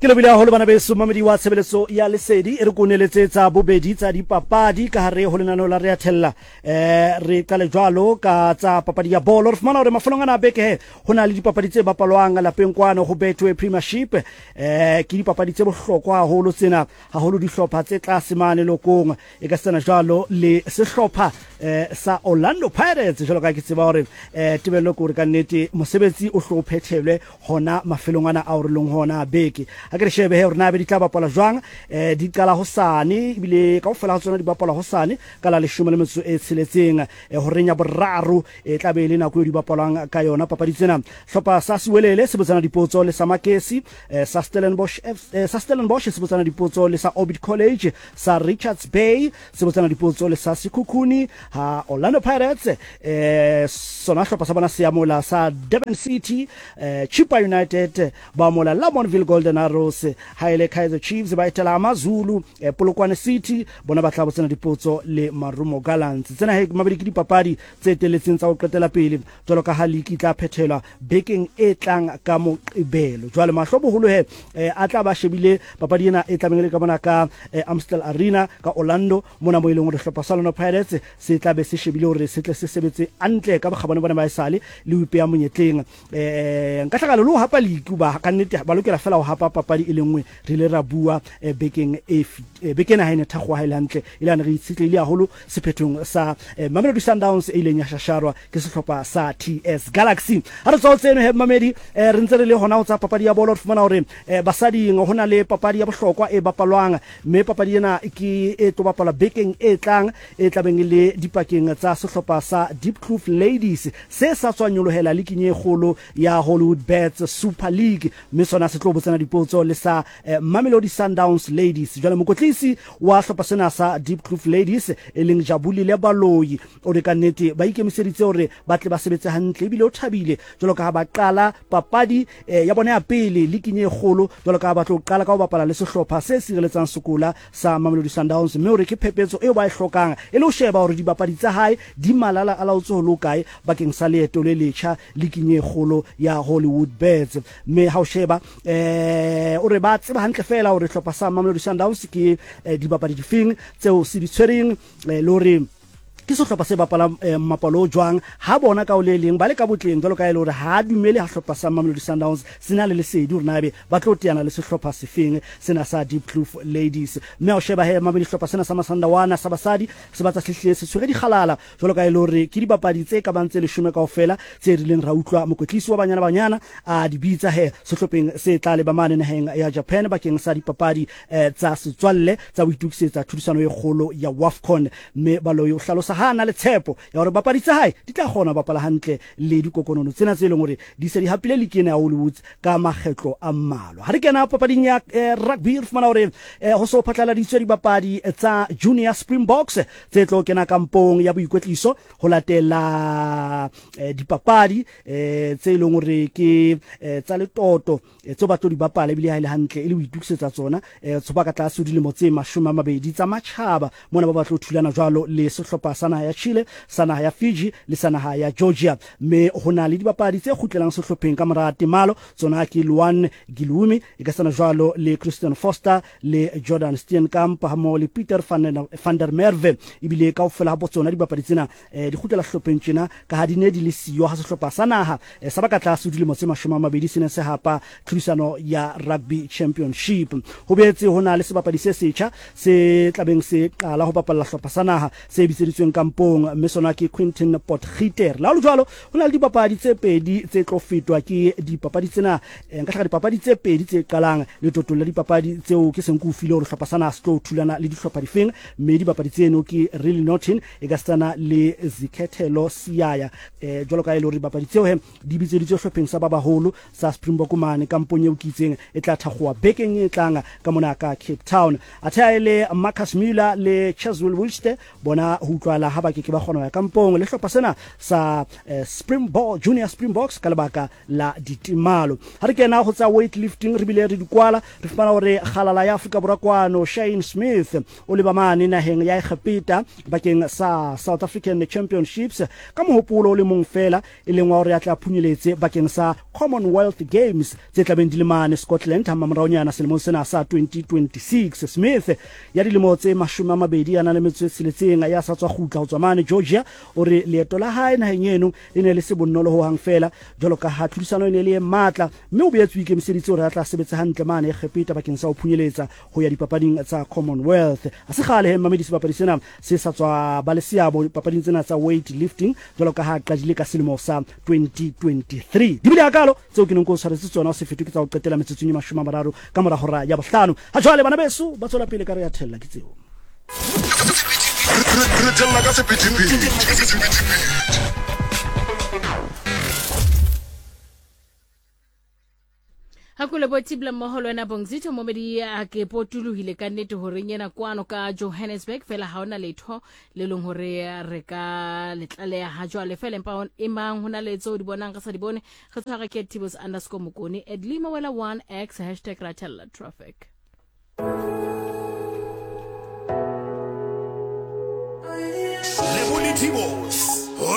Ke lebohile haholo bana beso, mamedi wa tshebeletso ya Lesedi e re ko neletse tsa bobedi tsa dipapadi ka hare ho lenaneo la Rea Thella. Re qale jwalo ka tsa papadi ya bolo. Re fumana hore mafelong ana a beke he ho na le dipapadi tse bapalwang lapeng kwano ho Betway Premiership. Ke dipapadi tse bohlokwa haholo tsena, haholo dihlopha tse tlase mane lokong e ka setsana jwalo le sehlopha sa Orlando Pirates. Jwalo ka ke tseba hore tebello ke hore ka nnete mosebetsi o hlo o phethelwe hona mafelong ana ao re leng hona a beke. A ke re shebe he hore na be di tla bapalwa jwang. Di qala hosane ebile kaofela ha tsona di bapalwa hosane ka la leshome le metso e tsheletseng, horeng ya boraro e tla be e le nako eo di bapalwang ka yona papadi tsena. Hlopha sa Siwelele se botsana dipotso le sa Makesi, sa Stellenbosch, sa Stellenbosch se botsana dipotso le sa Orbit College, sa Richards Bay se botsana dipotso le sa Sekhukhune, ha Orlando Pirates sona hlopha sa bona se amola sa Durban City, Chippa United ba amola Lamontville Golden Arrows, ha ele Kaizer Chiefs ba etela AmaZulu, Polokwane City bona ba tla botsana dipotso le Marumo Gallants. Tsena he mabedi ke dipapadi tse eteletseng tsa ho qetela pele jwalo ka ha liki tla phethelwa bekeng e tlang ka Moqebelo. Jwale mahlo boholo he a tla ba shebile papadi ena e tlabeng e le ka mona ka Amstel Arena ka Orlando, mona mo e leng hore hlopha sa Orlando Pirates se tla be se shebile hore se tle se sebetse hantle ka bokgabane bona ba esale le ho ipeha monyetleng. Nka hlakalo le ho hapa liki ba ka nnete ba lokela fela ho hapa papadi e le nngwe. Re ile ra bua bekeng e beke ena ha e ne thakgoha ha e le hantle e le hane re itshetlehile haholo sephethong sa Mamelodi Sundowns e ileng ya shasharwa ke sehlopha sa TS Galaxy. Ha re tswa ho tseno he mamedi, re ntse re le hona ho tsa papadi ya bolo, re fumana hore basading ho na le papadi ya bohlokwa e bapalwang, mme papadi ena ke e tlo bapalwa bekeng e tlang e tlabeng e le dipakeng tsa sehlopha sa Diepkloof Ladies se sa tswa nyolohela liking e kgolo ya Hollywood Bets Super League, mme sona se tlo botsana dipotso le sa Mamelodi Sundowns Ladies. Jwale mokotlisi wa hlopha sena sa Diepkloof Ladies e leng Jabulile Baloyi o re ka nnete ba ikemiseditse hore ba tle ba sebetse hantle, ebile o thabile jwalo ka ha ba qala papadi ya bona ya pele liking e kgolo, jwalo ka ha ba tlo qala ka ho bapala le sehlopha se sireletsang sekola sa Mamelodi Sundowns, mme o re ke phepetso eo ba e hlokang e le ho sheba hore dibapadi tsa hae di malala a laotse ho le hokae bakeng sa leeto le letjha liking e kgolo ya Hollywood Bets. Mme ha o sheba o re ba tseba hantle feela hore hlopha sa Mamelodi Sundowns ke dibapadi difeng tseo se di tshwereng, le hore ke sehlopha se bapalang mmapalo o jwang. Ha bona ka o le leng ba le ka botleng jwalo ka e le hore ha dumele ha hlopha sa Mamelodi Sundowns se na le lesedi hore na ebe ba tlo teana le sehlopha sefeng sena sa Diepkloof Ladies. Mme ha o sheba he Mamelodi, sehlopha sena sa Masandawana sa basadi se batla se hlile se tshwere dikgalala jwalo ka e le hore ke dibapadi tse ka bang tse leshome kaofela tse rileng ra utlwa mokwetlisi wa Banyana Banyana a di bitsa he sehlopheng se tla leba mane naheng ya Japan bakeng sa dipapadi tsa setswalle tsa ho itokisetsa tlhodisano e kgolo ya WAFCON. Mme Baloyi o hlalosa ha a na le tshepo ya hore bapadi tsa hae di tla kgona ho bapala hantle le dikokonono tsena tse leng hore di se di hapile liki ena ya Hollywoods ka makgetlo a mmalwa. Ha re kena papading ya rugby, re fumana hore ho so phatlaladitswe dibapadi tsa Junior Springboks tse tlo kena kampong ya boikwetliso ho latela dipapadi tse leng hore ke tsa letoto tseo ba tlo di bapala, ebile ha e le hantle e le ho itokisetsa tsona tso ba ka tlase ho dilemo tse 20 tsa matjhaba. Mona ba batlo thulana jwalo le sehlopha sa naha ya Chile, sa naha ya Fiji le sa naha ya Georgia. Mme ho na le dibapadi tse kgutlelang sehlopheng ka mora temalo, tsona ke Luan Gilumi, e ka sana jwalo le Christian Foster le Jordan Steenkamp hammoho le Peter van der Merwe. Ebile kaofela ha tsona dibapadi tsena di kgutlela sehlopheng tjena ka ha di ne di le siyo ha sehlopha sa naha sa ba ka tlase ho dilemo tse 20 se ne se hapa tlhodisano ya Rugby Championship. Ho boetse ho na le sebapadi se setjha se tlabeng se qala ho bapalla hlopha sa naha se bitseditsweng kampong, mme sona ke Quinton Potgieter. Le ha ho le jwalo, ho na le dipapadi tse pedi tse tlo fetwa ke dipapadi tsena, nka hlaka dipapadi tse pedi tse qalang letotong la dipapadi tseo ke seng ke o file hore hlopha sa naha se tlo thulana le dihlopha difeng, mme dibapadi tseno ke Riley Norton e ka setsana le Zikhethelo Siyaya. Jwalo ka e le hore dibapadi tseo he di bitseditswe hlopheng sa ba baholo sa Springbok mane kampong eo ke itseng e tla thakgowa bekeng e tlang ka mona ka Cape Town. Athe ha e le Marcus Muller le Cheswill Wilste bona ho utlwahala la ha ba ke ke ba kgona ho ya kampong le hlopha sena sa eh, Springbok Junior Springboks ka lebaka la ditemalo. Ha re kena go tsa weightlifting re bile re di kwala, re fumana gore kgalala ya Afrika Borwa kwano Shane Smith o leba mane naheng ya Egepeta bakeng sa South African Championships ka mohopolo o le mong fela e leng wa gore a tla phunyeletse bakeng sa Commonwealth Games tse tlabeng di le mane Scotland ha mamoraonyana selemong sena sa 2026. Smith ya dilemo tse 29 ya sa tswa kgutla ho tswa mane Georgia o re leeto la hae naheng eno le ne le se bonolo ho hang feela jwalo ka ha tlhodisano e ne e le e matla, mme o boetse o ikemiseditse hore a tla sebetsa hantle mane Egepeta bakeng sa ho phunyeletsa ho ya dipapading tsa Commonwealth. Ha se kgale he mmamedi sebapadi sena se sa tswa ba le seabo dipapading tsena tsa weight lifting jwalo ka ha a qadile ka selemo sa 2023. Di bile hakalo tseo ke neng ke o tshwaretse tsona, o se fetwe ke tsa ho qetela metsotsong e 30 ka mora hora ya bohlano. Ha jwale bana beso ba tswela pele ka re ya thella ke tseo. Re thella ka sephethephethe. Ha ko lebo tibla mmoho le wena Bongzitho Momedi a ke potolohile ka nnete horeng ena kwano ka Johannesburg fela ha ona letho le leng hore re ka le tlaleha ha jwale fela empa emang ho na le tseo di bonang re sa di bone re tshware ke tibos underscore mokone at lima wela 1x hashtag ratella traffic. Lebo le Tibos.